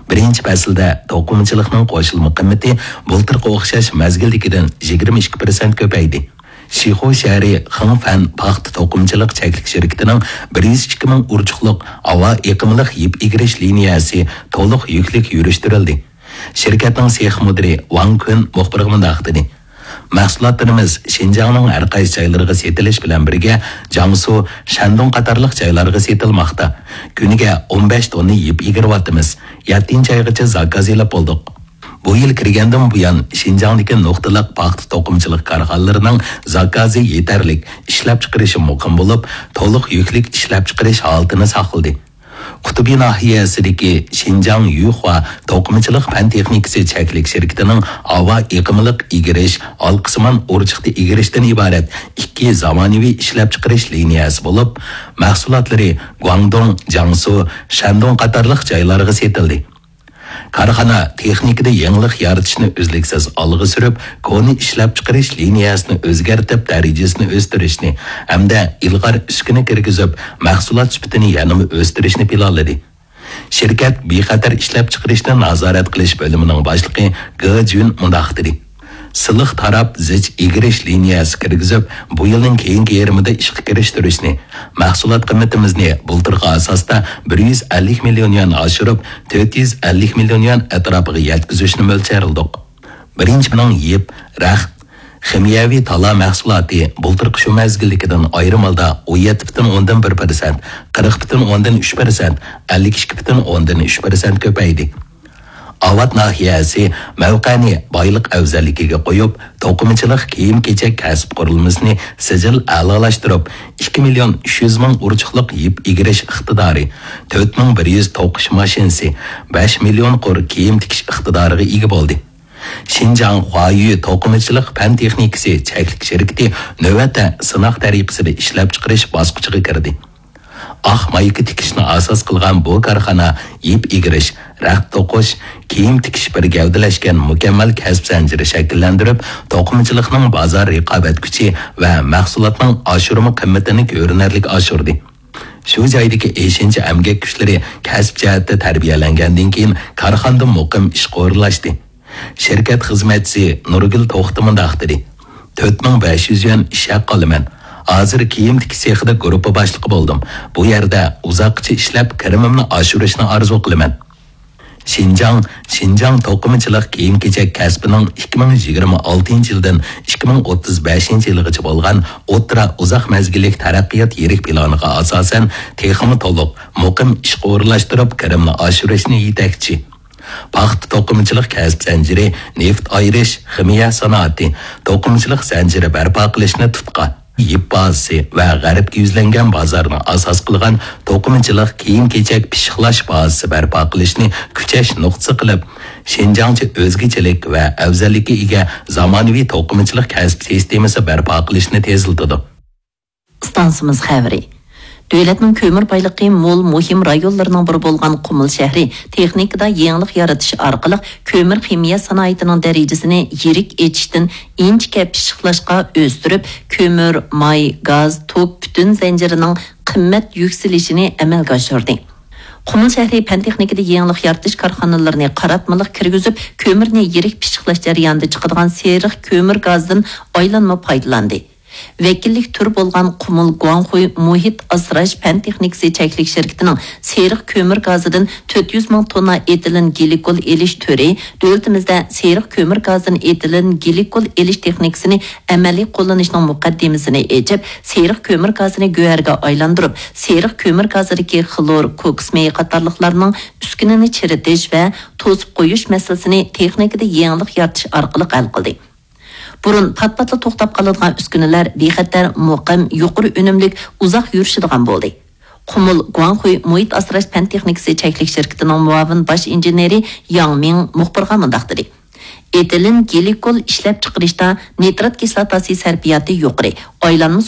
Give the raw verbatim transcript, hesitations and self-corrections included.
بىرىنچى پەسىلدە توقۇمىچىلىقنىڭ قوشۇلما قىممىتى بۇلتۇرقى ئوخشاش مەزگىلدىكىدىن يىگىرمە ئىككى پىرسەنت كۆپەيدى. شىخۇ شەھىرى خېڭفەن پاختا توقۇمىچىلىق چەكلىك شىركىتىنىڭ بىر يۈز ئىككى مىڭ ئۇرچۇقلۇق ھاۋا ئېقىملىق يىپ ئېگىرىش لىنىيەسى تولۇق يۈكلۈك يۈرۈشتۈرۈلدى. شىركەتنىڭ سېخ مۇدىرى ۋاڭ كۈن مۇخبىرغا مۇنداق دېدى: مەھسۇلاتلىرىمىز شىنجاڭنىڭ ھەر قايسى جايلىرىغا سېتىلىش بىلەن بىرگە، جياڭسۇ، شەندۇڭ قاتارلىق جايلارغا سېتىلماقتا. كۈنىگە ئون بەش توننا يىپ ئېگىرىۋاتىمىز. يەتتىنچى ئايغىچە زاكاز ئېلىپ بولدۇق. بۇ يىل كىرگەندىن بۇيان، شىنجاڭدىكى نۇقتىلىق پاختا توقۇمىچىلىق كارخانىلىرىنىڭ زاكازى يېتەرلىك، ئىشلەپچىقىرىشى مۇقىم بولۇپ، تولۇق يۈكلۈك ئىشلەپچىقىرىش ھالىتىنى ساقلىدى. قۇتۇبى ناھىيەسىدىكى شىنجاڭ يۈخۇا توقۇمىچىلىق پەن تېخنىكىسى چەكلىك شىركىتىنىڭ ھاۋا ئېقىملىق ئېگىرىش، ھالقىسىمان ئۇرچۇقتا ئېگىرىشتىن ئىبارەت ئىككى زامانىۋى ئىشلەپچىقىرىش لىنىيەسى بولۇپ، مەھسۇلاتلىرى گۇاڭدۇڭ، جياڭسۇ، شەندۇڭ قاتارلىق جايلارغا سېتىلدى. كارخانا تېخنىكىدا يېڭىلىق يارىتىشنى ئۈزلۈكسىز ئالغا سۈرۈپ، كونا ئىشلەپچىقىرىش لىنىيەسىنى ئۆزگەرتىپ، دەرىجىسىنى ئۆستۈرۈشنى ھەمدە ئىلغار ئۈسكۈنە كىرگۈزۈپ، مەھسۇلات سۈپىتىنى يەنىمۇ ئۆستۈرۈشنى پىلانلىدى. شىركەت بىخەتەر ئىشلەپچىقىرىشنى نازارەت قىلىش بۆلۈمىنىڭ باشلىقى گې جۈن مۇنداق دېدى: سىلىق تاراپ زىچ ئېگىرىش لىنىيەسى كىرگۈزۈپ، بۇ يىلنىڭ كېيىنكى يېرىمىدا ئىشقا كىرىشتۈرۈشنى، مەھسۇلات قىممىتىمىزنى بۇلتۇرقى ئاساستا بىر يۈز ئەللىك مىليون يۈەن ئاشۇرۇپ، تۆت يۈز ئەللىك مىليون يۈەن ئەتراپىغا يەتكۈزۈشنى مۆلچەرلىدۇق. بىرىنچى، مېنىڭ يىپ، رەخت، خىمىيەۋى تالا مەھسۇلاتى بۇلتۇرقى شۇ مەزگىلدىكىدىن ئايرىم ھالدا ئون يەتتە پۈتۈن ئوندىن بىر پىرسەنت، قىرىق پۈتۈن ئوندىن ئۈچ پىرسەنت، ئەللىك ئىككى پۈتۈن ئوندىن ئۈچ پىرسەنت كۆپەيدى. ئاۋات ناھىيەسى مەۋقەنى بايلىق ئەۋزەللىكىگە قويۇپ، توقۇمىچىلىق كىيىم-كېچەك كەسىپ قۇرۇلمىسىنى سىجىل ئەلالاشتۇرۇپ، ئىككى مىليون ئۈچ يۈز مىڭ ئۇرچۇقلۇق يىپ ئېگىرىش ئىقتىدارى، تۆت مىڭ بىر يۈز توقۇش ماشىنىسى، بەش مىليون قۇر كىيىم تىكىش ئىقتىدارىغا ئىگە بولدى. شىنجاڭ خۇايۈ توقۇمىچىلىق پەن تېخنىكىسى چەكلىك شىركىتى نۆۋەتتە سىناق تەرىقىسىدە ئىشلەپچىقىرىش باسقۇچىغا كىردى. ئاق مايكا تىكىشنى ئاساس قىلغان بۇ كارخانا يىپ ئېگىرىش، رەخت توقۇش، كىيىم تىكىش بىر گەۋدىلەشكەن مۇكەممەل كەسىپ زەنجىرى شەكىللەندۈرۈپ، توقۇمىچىلىقنىڭ بازار رىقابەت كۈچى ۋە مەھسۇلاتنىڭ ئاشۇرما قىممىتىنى كۆرۈنەرلىك ئاشۇردى. شۇ جايدىكى ئېشىنچا ئەمگەك كۈچلىرى كەسىپ جەھەتتە تەربىيەلەنگەندىن كېيىن، كارخانىدا مۇقىم ئىشقا ئورۇنلاشتى. شىركەت خىزمەتچىسى نۇرگۈل توختى مۇنداق دېدى: تۆت مىڭ بەش يۈز يۈەن ئىش ھەققى ئالىمەن. ھازىر كىيىم تىكىش سېخىدا گۇرۇپپا باشلىقى بولدۇم. بۇ يەردە ئۇزاققىچە ئىشلەپ، كىرىمىمنى ئاشۇرۇشنى ئارزۇ قىلىمەن. شىنجاڭ، شىنجاڭ توقۇمىچىلىق كىيىم-كېچەك كەسپىنىڭ ئىككى مىڭ يىگىرمە ئالتىنچى يىلدىن ئىككى مىڭ ئوتتۇز بەشىنچى يىلغىچە بولغان ئوتتۇرا ئۇزاق مەزگىللىك تەرەققىيات يىرىك پىلانىغا ئاساسەن، تېخىمۇ تولۇق، مۇقىم ئىشقا ئورۇنلاشتۇرۇپ، كىرىمنى ئاشۇرۇشنى يېتەكچى. پاختا توقۇمىچىلىق كەسىپ زەنجىرى، نېفىت ئايرىش، خىمىيە سانائىتى، توقۇمىچىلىق زەنجىرى بەرپا قىلىشنى تۇتقا، يىپ بازىسى ۋە غەربكە يۈزلەنگەن بازارنى ئاساس قىلغان توقۇمىچىلىق كىيىم-كېچەك پىششىقلاش بازىسى بەرپا قىلىشنى كۈچەش نۇقتىسى قىلىپ، شىنجاڭچە ئۆزگىچىلىك ۋە ئەۋزەللىككە ئىگە زامانىۋى توقۇمىچىلىق كەسىپ سىستېمىسى بەرپا قىلىشنى تېزلىتىدۇ. ئىستانسىمىز خەۋىرى. دۆلەتنىڭ كۆمۈر بايلىقى مول مۇھىم رايونلىرىنىڭ بىرى بولغان قۇمۇل شەھىرى تېخنىكىدا يېڭىلىق يارىتىش ئارقىلىق كۆمۈر خىمىيە سانائىتىنىڭ دەرىجىسىنى يىرىك ئېچىشتىن ئىنچىكە پىششىقلاشقا ئۆستۈرۈپ، كۆمۈر، ماي، گاز، توك پۈتۈن زەنجىرىنىڭ قىممەت يۈكسىلىشىنى ئەمەلگە ئاشۇردى. قۇمۇل شەھىرى پەن تېخنىكىدا يېڭىلىق يارىتىش كارخانىلىرىنى قاراتمىلىق كىرگۈزۈپ، كۆمۈرنى يىرىك پىششىقلاش جەريانىدا چىقىدىغان سېرىق كۆمۈر گازىدىن ئايلانما پايدىلاندى. ۋەكىللىك تۈرى بولغان قۇمۇل گۇاڭخۇي مۇھىت ئاسراش پەن تېخنىكىسى چەكلىك شىركىتىنىڭ سېرىق كۆمۈر گازىدىن تۆت يۈز مىڭ توننا ئېتىلېن گلىكول ئېلىش تۈرى دۆلىتىمىزدە سېرىق كۆمۈر گازىدىن ئېتىلېن گلىكول ئېلىش تېخنىكىسىنى ئەمەلىي قوللىنىشنىڭ مۇقەددىمىسىنى ئېچىپ، سېرىق كۆمۈر گازىنى گۆھەرگە ئايلاندۇرۇپ، سېرىق كۆمۈر گازىدىكى خلور، كوكس مېيى قاتارلىقلارنىڭ ئۈسكۈنىنى چىرىتىش ۋە توسۇپ قويۇش مەسىلىسىنى تېخنىكىدا يېڭىلىق يارىتىش ئارقىلىق ھەل قىلدى. بۇرۇن پات-پاتلا توختاپ قالىدىغان ئۈسكۈنىلەر بىخەتەر، مۇقىم، يۇقىرى ئۈنۈملۈك، ئۇزاق يۈرۈشىدىغان بولدى. قۇمۇل گۇاڭخۇي مۇھىت ئاسراش پەن تېخنىكىسى چەكلىك شىركىتىنىڭ مۇئاۋىن باش ئىنژېنېرى ياڭ مىڭ مۇخبىرغا مۇنداق دېدى: ئېتىلېن گلىكول ئىشلەپچىقىرىشتا نىترات كىسلاتاسى سەرپىياتى يۇقىرى، ئايلانما